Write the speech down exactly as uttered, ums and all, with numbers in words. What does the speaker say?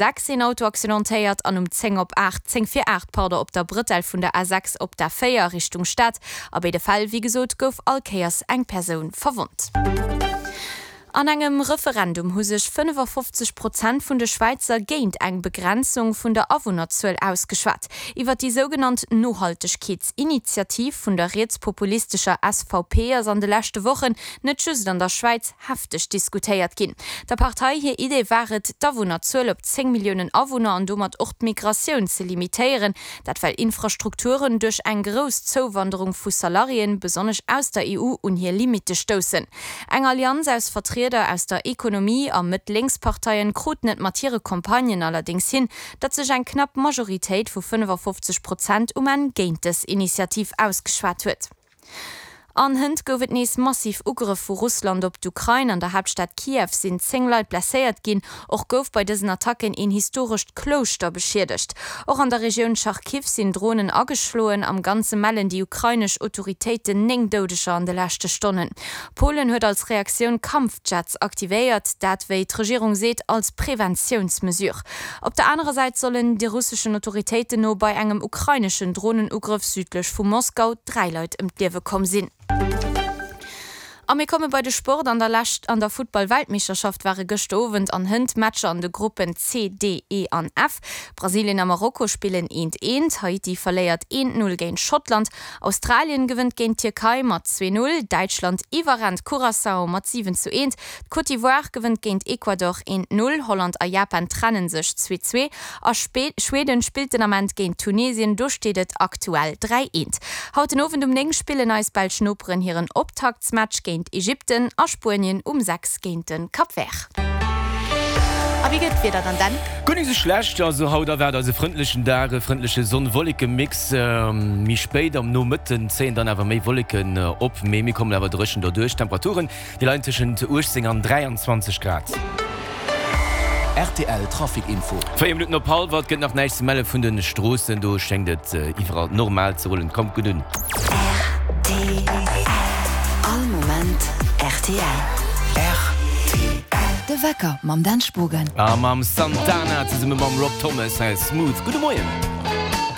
sechs een Auto accidentéiert an um zéng op aacht, zéng vir aacht, pardon, op der Brëtell vun der A sechs op der véier Richtung Stad. A béide Fäll, wéi gesot, gouf all Kéiers eng Persoun verwonnt. An engem Referendum hu sech fënnefafofzeg Prozent vun de Schwäizer géint eng Begrenzung vun der Awunnerzuel ausgeschwat. Iwwer déi sougenannt Nohaltegkeetsinitiativ vun der rietspopulistescher S V P ass an de leschte Wochen net just an der Schwäiz hefteg diskutéiert ginn. Der Partei hir Idee war et, d'Awunnerzuel op zéng Milliounen Awunner an domat och d'Migratioun ze limitéieren. Dat well Infrastrukturen duerch eng grouss Zouwanderung vu Salariéen, besonnesch aus der E U, un hir Limitte stoussen. Eng Allianz aus Vertrieder aus der Ekonomie a Mëtt-Lénks-Parteien kruten et mat hire Campagnen allerdéngs hin, datt sech eng knapp Majoritéit vu fënnefafofzeg Prozent um Enn géint dës Initiativ ausgeschwat huet. An hënt gouf et nees massiv Ugrëff vu Russland op d'Ukrain. An der Haaptstad Kiew sinn zéng Leit blesséiert ginn. Och gouf bei dësen Attacken een historescht Klouschter beschiedegt. Och an der Regioun Charkiw sinn Dronen ageschloen. Am Ganze mellen déi ukrainesch Autoritéiten néng Doudeger an de leschte Stonnen. Polen huet als Reaktioun Kampfjets aktivéiert, dat, wéi d'Regierung seet, als Preventiounsmesure. Op der anerer Säit sollen de russeschen Autoritéiten no bei engem ukraineschen Dronenugrëff südlech vu Moskau dräi Leit ëm d'Liewe komm sinn. A mir komme bei de Sport. An der Lescht an der Futtball-Weltmeeschterschaft ware gëschter Owend an hënt Matcher an de Gruppen C, D, E an F. Brasilien a Marokko spillen eent eent, Haiti verléiert eent null géint Schottland, Australien gewënnt géint d'Tierkei mat zwee null, Däitschland iwwerrennt Curaçao mat siwen zu eent, d'Côte d'Ivoire gewënnt géint Ecuador eent null, Holland a Japan trennen sech zwee zwee a Schweden spillt den Ament géint Tunesien, do steet et aktuell dräi eent. Haut den Owend um néng spillen eis belsch Noperen hiren Optaktsmatch géint Ägypten a Spuenien um sechs géint de Cap Vert. A wéi gëtt d'Wieder dann, Dan? Guer nik sou schlecht, also haut erwaart eis e frëndlechen Dag, e frëndleche Sonn-Wolleke-Mix. Méi spéit am Nomëtten zéien dann awer méi Wolleken op, mee mir kommen awer dréchen derduerch. D'Temperaturen, déi leien tëschent uechtzéng an dräianzwanzeg Grad. R T L Trafic Info. Véier Minutten op hallwer, et gëtt nach näischt ze melle vun de Stroossen, do schéngt et iwwerall normal ze rullen. Kommt gutt un. R T L. All Moment R T L. R T L. De Wecker mam Dan Spogen. A mam Santana zesumme mam Rob Thomas, hei ass Smooth. Gudde Moien.